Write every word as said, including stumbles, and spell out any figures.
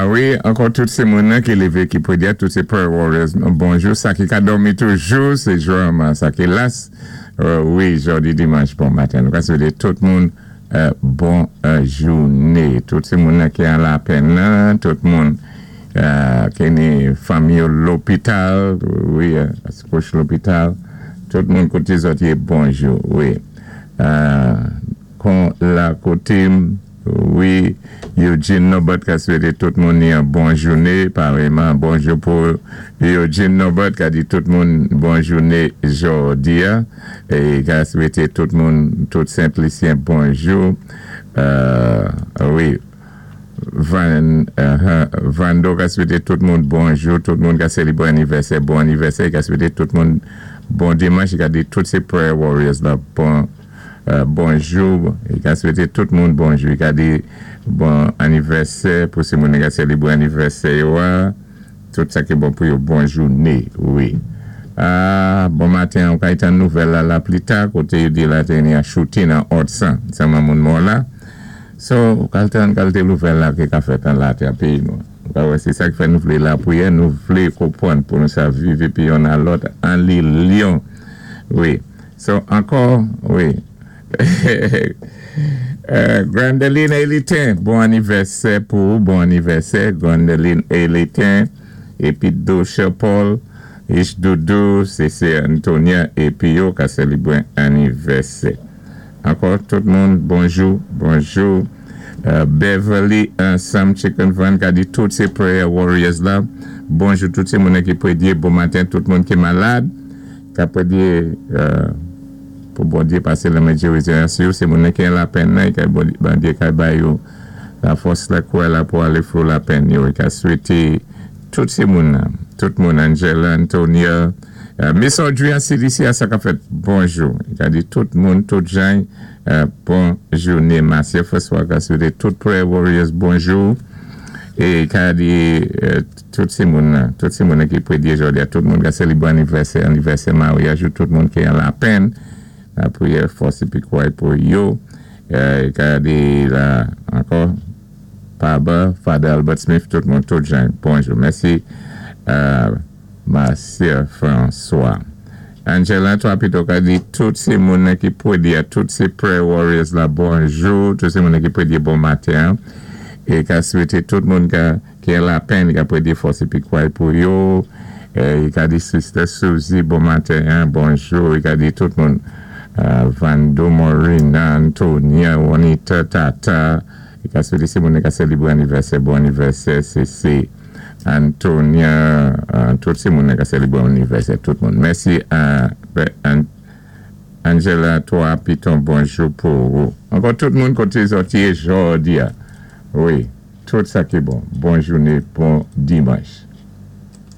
A wi, ankò tout sé moun ki lévé ki pwédyé, tout sé prayer warriors. Bonjou, sa ki ka dòmi toujou, sé jwaman sa ki las. Euh, wi, jòdi dimanch, bon maten. Nou ka swété tout moun euh, bon euh, jouné. Tout sé moun ki an lapenn la, tout moun euh, ki ni fanmi lopital, wi, kouché lopital. Tout moun koté zòt yé, bonjou, wi. Euh, kon la koté, wi, Eugene Nobert ka swété tout moun yon bon jouné, parèyman, bonjou pou Eugene Nobert ka di tout moun bon jouné jòdi a, é ka swété tout moun, tout Sent-Lisyen bonjou. Euh, wi, Van, uh, Vando ka swété tout moun bonjou, tout moun ka sélébwé anivèsè, bon anivèsè, ka swété tout moun bon dimanch, ka di tout sé prayer warriors la, bon euh, bonjou, i ka swété tout moun bonjou, i ka di bon anivèsè pou sé moun ka sélébwé anivèsè yo, tout sa ki bon pou yo, bon jouné, wi. Ah, bon maten, on ka tann nouvèl la, la pli ta, koté yo di la té ni a shooting nan Ortsan, sa moun mò la. So, kalté kalté nouvèl la ki ka fèt an la té péyi nou. Ka wè, sé sa ki fè nou vlé lapriyè, nou vlé konpwann pou nou sa viv épi youn a lòt an linyon. Wi. So, ankò, wi. euh, Grandeline Elitin, bon anivèsè pou ou, bon anivèsè, Grandeline Elitin, épi Dosha Paul, Ish Doudou, C C Antonia, épi yo ka sélébwé anivèsè. Ankò, tout moun, bonjou, bonjou. Euh, Beverly Sam Chicken Van ka di tout sé prayer warriors la. Bonjou tout sé moun ki pwédyé, bon maten, tout moun ki malad. Ka pwédyé euh, pou Bondyé pasé lanmen gérizon sou, sé moun ki an lapenn nan, ka Bondyé ka bay yo la fòs la kwè la pou alé through lapenn yo. I ka swété tout sé moun nan, tout moun, Angela, Antonia, euh, Miss Audrey an C D C a sa ka fèt bonjou. I ka di tout moun, tout jan, euh, bon jouné. Marcia François ka swété tout prayer warriors bonjou. É ka di euh, tout sé moun nan, tout sé moun ki pwédyé jòdi a, tout moun ka sélébwé anivèsè, anivèsè maryaj, tout moun ki an lapenn, lapriyè fòs épi kouray pou yo. Euh, ka di la ankò, Paba, Father Albert Smith, tout moun, tout jan, bonjou. Mèsi, euh, Marcia François. Angela, twa pito ka di tout sé moun ki pwédyé, tout sé prayer warriors la bonjou, tout sé moun ki pwédyé bon maten, é ka swété tout moun ka, ki an lapenn, ka pwédyé fòs épi kouray pou yo, é ka di Sister Suzy, bon maten, bonjou, i ka di tout moun, euh, Vando Morina, Antonia, Juanita, Tata, i ka swété sé moun ka sélébwé anivèsè, bon anivèsè, C C, Antonia, euh, tout sé moun ka sélébwé anivèsè, tout moun. Mèsi à Angela, twa piton, bonjou pou ou. Ankò tout moun koté zòt yé jòdi a. Wi, tout sa ki bon. Bon jouné, bon dimanch.